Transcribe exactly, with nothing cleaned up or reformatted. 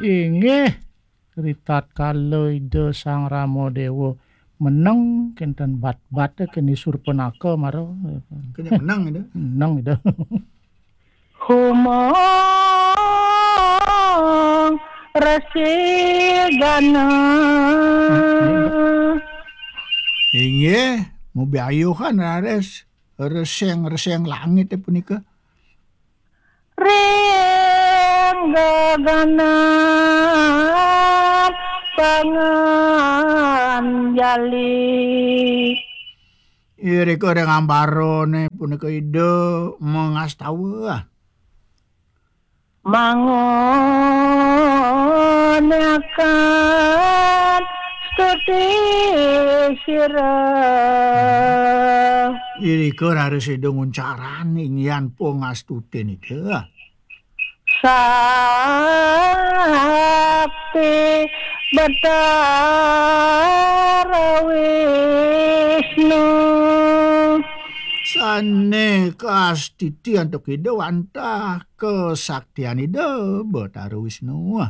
Inggih, ritatkala Ida Sang Rama Dewa meneng kenten bat-bat keni Surpanaka mara. Kenya meneng Ida. Meneng Ida. Humong Resi Gana. Inggih, mubiayuhan raris reseng-reseng langit punika. Ring gaganan panganjali. Irika ring ambarane punika Ida mangastawa. Mangoneaken stuti sira. Irika raris Ida nguncarani inggihan pangastuti nika. Sakti Betara Wisnu. Sane kastiti antuk Ida wantah kesaktian Ida Betara Wisnu.